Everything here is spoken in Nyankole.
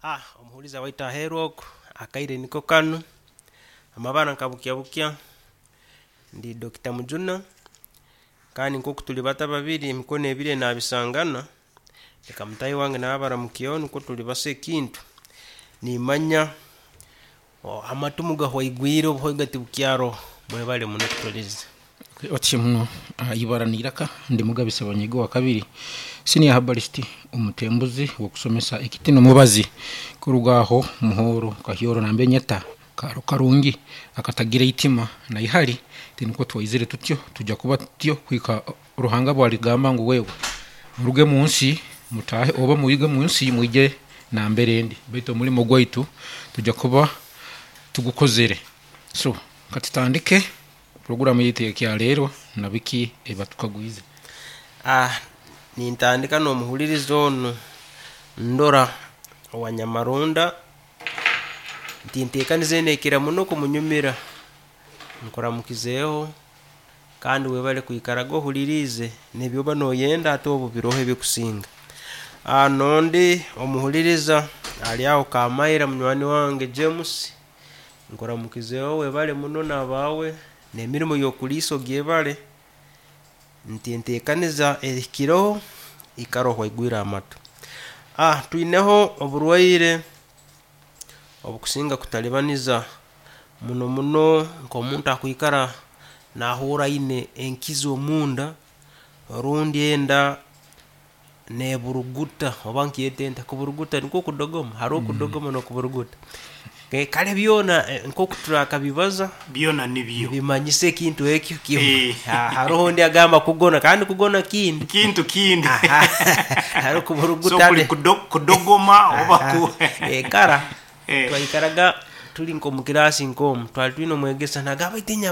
Ah, omuhuriza waitu aheeru oku, akaire niko kanu, amabara nka bukya bukya, ndi Dokita Mujuna, kandi nk'oku turi bato ababiri emikono ebiri enaabisangana, reka mutaahi wange nawe abaramukyeho nikwo turibasa ekintu. Niimanya amatu mugahwaigwire obuhoiga tibukyaroho, mwebare muno kutuhuriiriza. Otyo muno ibara n'eiraka ndi Mugabe Ssebanyige owakabiri senior herbalist omutembuzi w'okusomesa ekiti n'omubazi kuruga aho Muhoro Kahyoro namba Enyeta kaaro karungi akatagira eitima na ihari tinikwo twaizire tutyo tuja kuba tutyo kuhika Ruhanga bwarigamba ngu wewe muruge munsi mutaahe oba mwige munsi mwije nambere ndi baitu omurimo gwaitu tuja kuba tugukozere so katutandike Puroguramu yaitu ey'ekyaleero na biki ebibatukagwize. Ah, nintandika n'omuhuliriza onu Ndora owa Nyamarunda, nti enteekaniza enu ekira muno kumunyumira. Nkuramukizeeho kandi webale kwikaraga ohuliriize n'ebi oba noyenda hati obu biroho ebikusinga. Ah, n'ondi omuhuliriza ali aho Kamaira munywani wange James, Nkuramukizeho webale muno n'abaawe n'emirimo y'okuliisa ogyebale, nti enteekaniza ehikireho ikara ohwaigwire amatu. Ah twineho oburwaire obukusinga kutalibaniza muno muno nk'omuntu akwikara nahuurra aine enkizi omunda rundi enda neburuguta oba nkyete nta kuburuguta nikwo kudogoma? Haroho kudogoma n'okuburuguta. Kale byona nk'oku turakabibaza Byona nibyo. nibimanyisa ekintu ekyo kimu. Eh. Haroho ondi agamba kugona kandi kugona kindi. Kintu kindi. Haroho So kuburuguta kuli kudo, kudogoma oba ku Kara Eh. twaikaraga tuli nk'omu kiraasi nk'omu twali twine omwegesa nagamba baitu.